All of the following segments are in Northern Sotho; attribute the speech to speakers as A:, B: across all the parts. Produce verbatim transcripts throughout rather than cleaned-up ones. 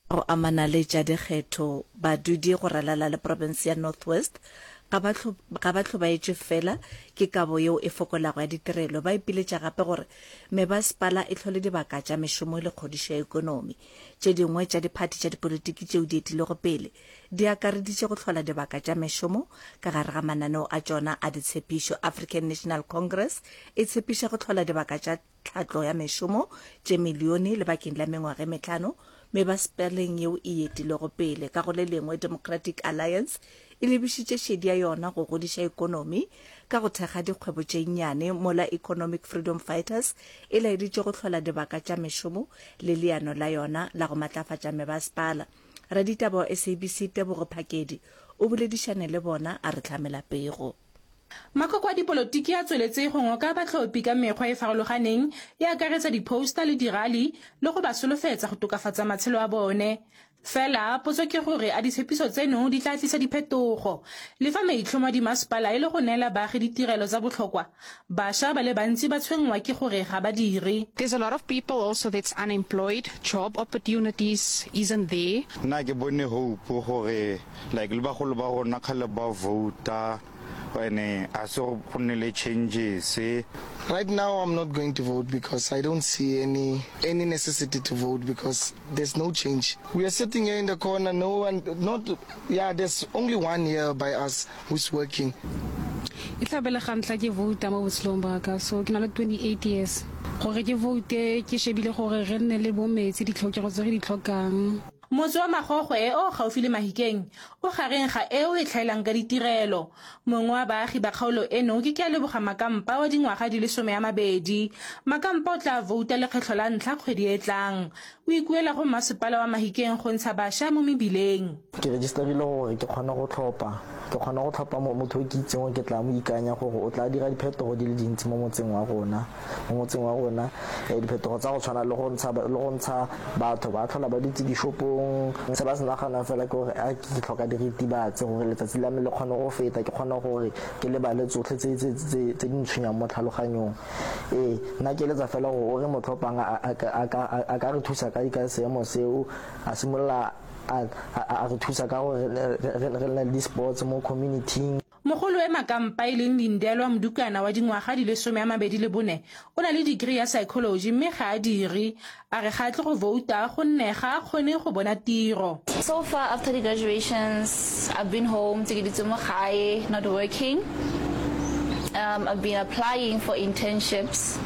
A: Go amana le tša dikgetho, badudi go ralala le profense ya North West ga ba ga ba hlobaetšwe fela ke kabo yeo e fokolago ya ditirelo, ba ipiletša gape gore mebasepala e hlole dibaka tša mešomo le kgodišo ya ekonomi. Tše dingwe tša diphathi tša dipolitiki tšeo di etilego pele di akareditše go hlola dibaka tša mešomo ka gare ga mananeo a tšona a ditshepišo. African National Congress e tshepiša go hlola dibaka tša tlhatlo ya mešomo tše milione lebakeng la mengwaga e mehlano mebasepaleng yeo e etilego pele. Ka go le lengwe, Democratic Alliance e lebišitše šedi ya yona go godiša ekonomi ka go thekga dikgwebo tše nnyane, mola Economic Freedom Fighters e laeditše go hlola dibaka tša mešomo le leano la yona la go matlafatša mebasepala. Raditaba wa S A B C Tebogo Phakedi o boledišane le bona a re hlamela pego.
B: Makoko a dipolotiki a tsweletse go ngoka batlhophi ka mekgwa e farologaneng e akaretsa di-poster le dirali le go ba solofetsa go tokafatsa matshelo a bone. Fela potso ke gore a ditshepiso tseno di tla tlisa diphetogo. Le fa maitlhomo a dimasepala e le go neela baagi ditirelo tsa botlhokwa, bašwa ba le bantsi ba tshwenngwa ke gore ga ba dire.
C: There's a lot of people also that's unemployed, job opportunities isn't there.
D: Nna ke bone hope gore like le bagolo ba rona kgale ba vouta ene a se go nne le changes.
E: Right now I'm not going to vote because I don't see any any necessity to vote because there's no change. We are sitting here in the corner, no one, not, yeah, there's only one here by us who's working.
F: E tla be le ga ntlha ke vouta mo botshelong ba ka, so ke na le twenty-eight years gore ke voute, ke shebile gore re nne le bo metsi, ditlhokego tse re di tlhokang.
B: Motse wa Magogwe o gaufi le Mahikeng o gareng ga eo e tlhaelang ka ditirelo. Mongwe wa baagi ba kgaolo eno ke Kealeboga Makampa wa dingwaga di le some a mabedi. Makampa o tla vouta lekgetlho la ntlha kgwedi e tlang. O ikuela go masepala wa Mahikeng go ntsha bašwa mo mebileng.
G: Ke registerile gore ke kgone go tlhopha, ke kgone go tlhopha motho o ke itseng gore ke tla mo ikanya gore o tla dira diphetogo di le dintsi mo motseng wa rona, mo motseng wa rona diphetogo tsa go tshwana le go ntsha le go ntsha batho ba tlhola ba dutse dishopong. Se ba se naganang fela ke gore a ke tlhoka diritibatsi gore letsatsi la me le kgone go feta, ke kgone gore ke lebale tsotlhe tse tse tse tse di ntshwenyang mo tlhaloganyong. Ee, nna ke eletsa fela gore o re mo tlhophang a ka re thusa ka ka seemo seo, a simolola a re thusa ka gore re nne le di-sports mo community-ing.
B: Mogolo e Makampa e leng Lindelwa Modukana wa dingwaga di le some a mabedi le bone o na le degree ya psychology mme ga a dire. A re ga a tle go vouta gonne ga a kgone go bona tiro.
H: So far after the graduations, I've been home, ke dutse mo gae, not working. Um, I've been applying for internships,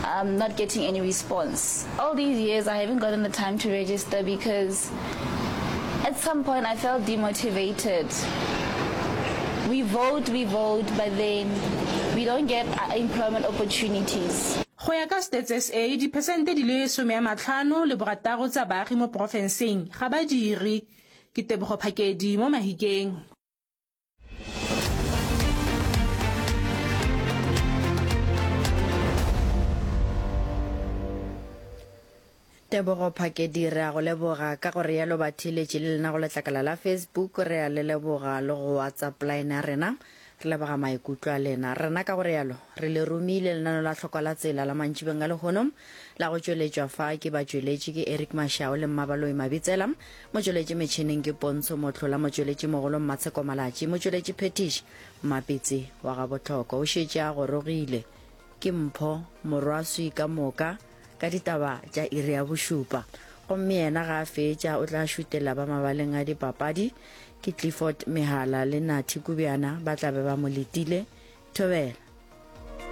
H: um, not getting any response. All these years I haven't gotten the time to register because at some point I felt demotivated. We vote, we vote, but then we don't get employment opportunities.
B: Go ya ka Stats S A, diphesente di le some a matlhano le borataro tsa baagi mo porofenseng ga ba dire. Ke Tebogo Phakedi mo Mahikeng.
I: Tebogo Phakedi, re a go leboga. Ka gore yalo batheeletši le lena go letlakala la Facebook re a le leboga, le go WhatsApp line ya rena re leboga maikutlo a lena. Rena ka gore yalo re le romile lenano la tlhokwa la tsela la mantšibeng a lehono la go tšweletšwa fa ke batšweletši ke Eric Mashao le Mmabaloi Mabitsela, motšweletši metšhineng ke Pontsho Mohlola, motšweletši mogolo Mmatsheko Malatši, motšweletši phetiši Mmapitsi wa ga Botlhoko o šetše a gorogile ke Mpho Morwaswi ka moka ka ditaba tša iri ya bošupa, gomme yena ga a fetša o tla šutela ba mabaleng a dipapadi ke Clifford Mehala le Nathi Kubjana ba tla be ba mo letile. Thobela.